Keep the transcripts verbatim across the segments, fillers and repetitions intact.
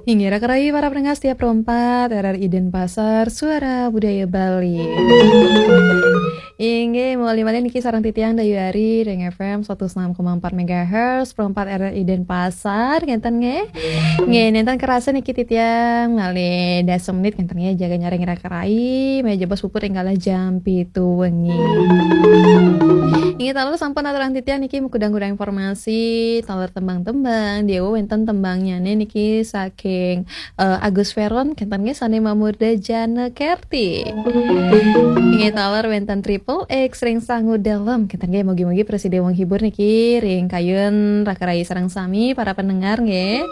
Inggih, raka rayi para pendengar setia Pro empat R R I Denpasar, Suara Budaya Bali. Inggih, mawali malih niki sareng titiang Dayu Ari ring F M satus enam koma empat megahertz, Pro empat R R I Denpasar, ngenten nggih. Nggih, nenten kerasa niki titiang malih dasa menit ngenten nggih, jaga nyarengin raka rayi, malih jebos puput ring galah jam pitu wengi. Inggih, taler sampun aturang titiang niki makudang-kudang informasi, taler tembang-tembang, diwu wenten tembangnyane niki saking, eh, Agus Veron, kenten nggih sane mamurda Jana Kerti. Inggih, taler wenten Triple X ring Sangu Dalem, kenten nggih mugi-mugi prasida menghibur niki ring kayun raka rayi sareng sami para pendengar nggih.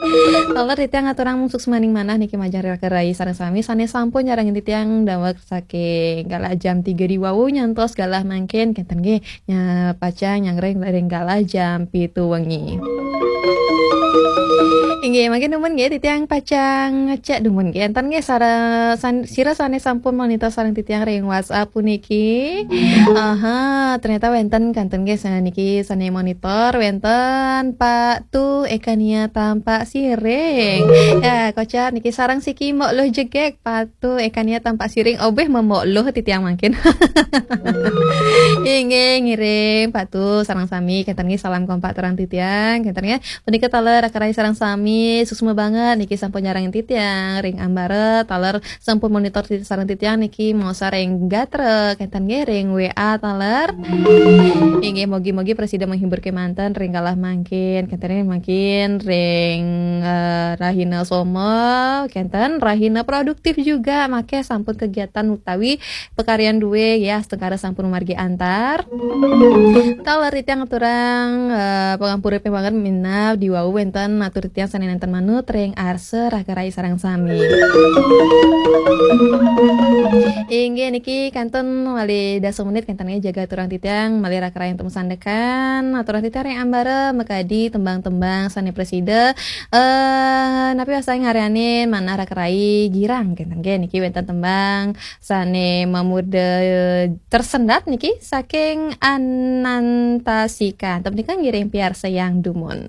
Taler titiang aturang suksmaning manah niki majeng raka rayi sareng sami sane sampun nyarengin titiang daweg saking galah jam tiga diwu nyantos galah mangkin kenten nggih. Nya pacang nyarengin ring galah jam pitu wengi. Inggih, mangkin dumun nggih titiang pacang ngecek dumun nggih. Enten nggih sara-, san-, sira sane sampun monitor sareng titiang ring WhatsApp puniki. Aha, ternyata wenten kenten nggih sane niki sane monitor wenten Pak Tu Ekania Tampak Siring. Ya, kocap niki sareng siki Mok Luh Jegek, Pak Tu Ekania Tampak Siring, obeh Mok Luh titiang mangkin. Inggih, ngiring Pak Tu sareng sami kenten nggih salam kompak aturang titiang kenten nggih. Punika taler raka rayi sareng sami, suksma banget niki sampun nyarengin titiang ring ambara, taler sampun monitor titi-, sareng titiang niki maosar ring gatra kenten nggih ring W A taler. Inggih, mugi-mugi prasida menghibur kemanten ring galah mangkin kenten nggih, mangkin ring, eh, rahina soma kenten, rahina produktif juga, makeh sampun kegiatan utawi pakaryan due ya, astungkara sampun mamargi antar. Taler titiang aturang, eh, pangampura pih banget minab diwu wenten atur titiang sane nenten manut ring arsa raka rayi sareng sami. Inggih niki kenten malih dasa menit kenten nggih jaga aturang titiang malih raka rayi antuk masandekan, aturang titiang ring ambara makadi tembang-tembang sane prasida, eh, napi wastané ngaryanin manah raka rayi girang kenten nggih niki wenten tembang sane mamurda Tersendat niki saking Anantasika. Antuk punika ngiring piarsayang dumun.